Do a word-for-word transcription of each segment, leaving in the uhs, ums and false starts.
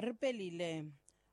Ri pelile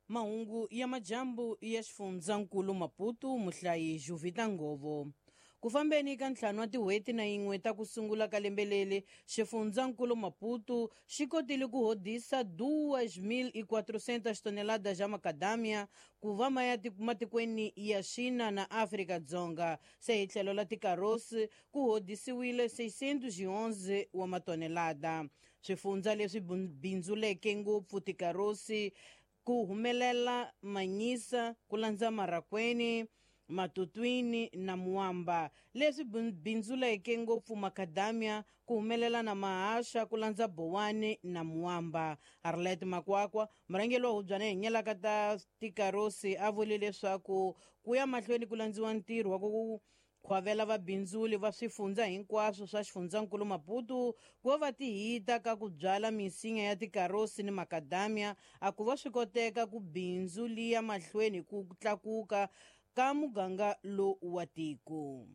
mahungu ya majambu ya xifundzankulu Maputo, muhlayi Juvita Ngovo. Ku fambeni ka ntlhanu wa tin'hweti na yin'we ta ku sungula ka lembe leri, xifundzankulu Maputo xi kotile ku hodisa duas mil e quatrocentas toneladas ja macadamia ku va ma ya matikweni ya China na Afrika-Dzonga. Se hi tlhelo la tikarosi ku hodisiwile seiscentos e onze wa matonelada. Swifundza leswi bindzuleke ngopfu tikarosi ku humelela Manyisa, ku landza Marakweni, Matutwini na Muamba. Leswi bindzuleke ngopfu macadamia ku humelela na Mahaxa, ku landza Bowani na Muamba. Arlet Makwakwa, murhangeri wa hubyana hi nyelaka ta tikarosi, a vule leswaku ku ya mahlweni ku landziwa ntirho wa ku khwavela vabindzuli va swifundza hinkwaswo swa xifundzankulu Maputo ku va va tihita ka ku byala misinya ya tikarosi ni macadamia, a ku va swi koteka ku bindzu liya mahlweni ku tlakuka ka muganga lowu wa tiko.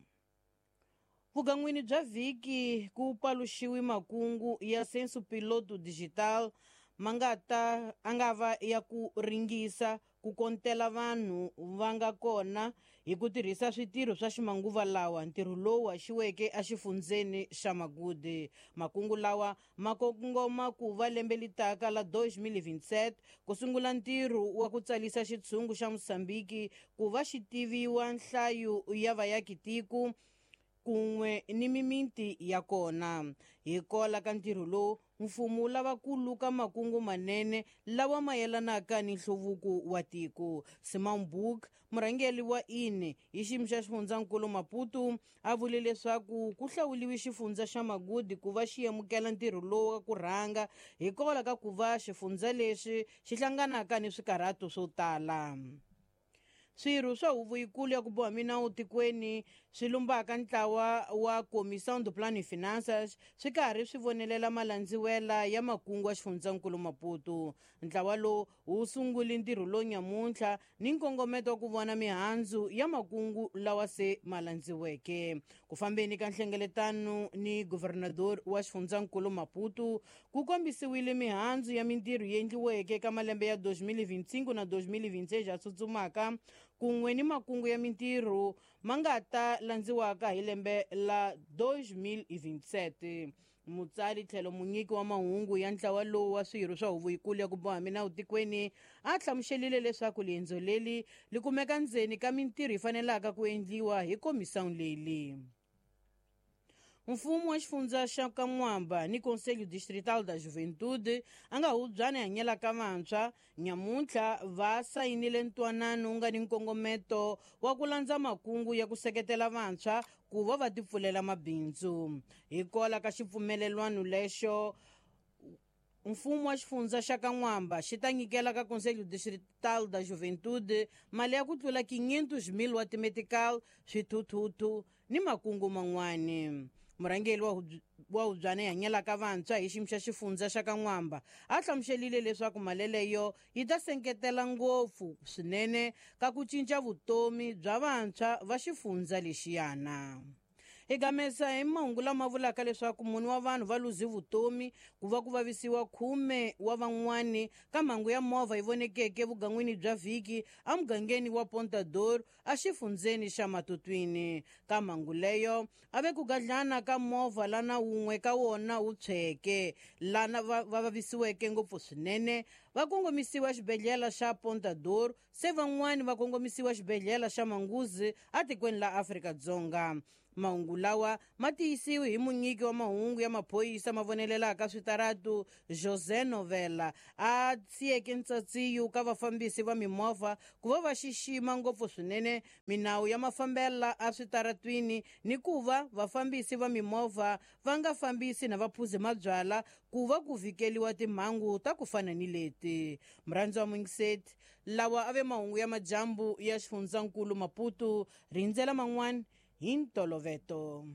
Vugan'wini bya vhiki ku paluxiwi makungu ya Censo Piloto Digital ma nga ta a nga va ya ku ringisa ku kontela vanhu va nga kona hi ku tirhisa switirho swa ximanguva lawa, ntirho lowu haxiweke exifundzeni xa Magude. Makungu lawa ma kongoma ku va lembe litaka la twenty twenty-seven ku sungula ntirho wa ku tsalisa xitshungu xa Mosambiki ku va xi tiviwa nhlayo ya vayakitiko kun'we ni mimiti ya kona. Hi kola ka ntirho lowu, mfumo wu lava ku luka makungu manene lawa mayelanaka ni nhluvuko wa tiko. Simon Book, murhangeri wa I N E hi xiyimo xa xifundzankulu Maputo, a vule leswaku ku hlawuliwe xifundza xa Magudi ku va xi amukela ntirho lowu wa ku rhanga, hikwalaho ka ku va xifundza lexi xi hlanganaka ni swikarhato swo tala. Swirho swa huvo yikulu ya ku boha minawu tikweni swi lumbaka ntlawa wa Comissão do Plano e Finanças swi karhi swi vonelela malandziwela ya makungu ya xifundzankulu Maputo. Ntlawa lowu wu sungule ntirho lowu nyamuntlha ni nkongometo wa ku vona mihandzu ya makungu lawa se ma landziweke. Ku fambeni ka nhlengeletano ni guvernador wa xifundzankulu Maputo, ku kombisiwile mihandzu ya mintirho yi endliweke ka malembe ya twenty twenty-five na twenty twenty-six ya tsutsumaka, kun'we ni makungu ya mintirho ma nga ta landziwaka hi lembe la twenty twenty-seven. Mutsari tlhelo munyiki wa mahungu ya ntlawa lowu wa swirho swa huvo yikulu ya ku boha minawu tikweni a hlamuselile leswaku liendzo leri li kumeka ndzeni ka mintirho yi fanelaka ku endliwa hi komisawu leyi. Mfumo wa xifundza xa Kan'wamba ni Conselho Distrital da Juventude a nga hubyana hanyelaka vantshwa nyamuntlha va sayinile ntwanano wu nga ni nkongometo wa ku landza makungu ya ku seketela vantshwa ku va va tipfulela mabindzu. Hi kola ka xipfumelelwano lexo, mfumo wa xifundza xa Kan'wamba xi ta nyikela ka Conselho Distrital da Juventude mali ya ku tlula quinhentos mil wa timetical, swithuthuthu ni makungu man'wani. Murhangeri wa wa hubyana yi hanyelaka vantshwa hi xiyimo xa xifundza xa Kan'wamba a hlamuselile leswaku mali leyo yi ta seketela ngopfu swinene ka ku cinca vutomi bya vantshwa va xifundza lexiyana. Hi gamesa hi mahungu lama vulaka leswaku mune wa vanhu va luze vutomi ku va ku vavisiwa khume wa van'wani ka mhangu ya movha yi vonekeke vugan'wini bya vhiki emugangeni wa Pontador exifundzeni xa Matutwini. Ka mhangu leyo a ve ku gadlana ka movha lana wun'we ka wona wu tshweke, lana va va vavisiweke ngopfu swinene va kongomisiwa xibedhlele xa Pontador, se van'wani va kongomisiwa xibedhlele xa Manguzi atikweni la Afrika-Dzonga. Mahungu lawa ma tiyisiwe hi munyiki wa mahungu ya maphorisa ma vonelelaka switaratu José Novela, a siyeke ntsatsiyo ka vafambisi va mimovha ku va va xixima ngopfu swinene minawu ya mafambela eswitaratwini, ni ku va vafambisi va mimovha va nga fambisi na vaphuzi mabyala ku va ku vhikeliwa timhangu ta ku fana ni leti. Murhandzi wa mungiseti, lawa a ve mahungu ya majambu ya xifundzankulu Maputo. Rindzela man'wani hi ntoloveto.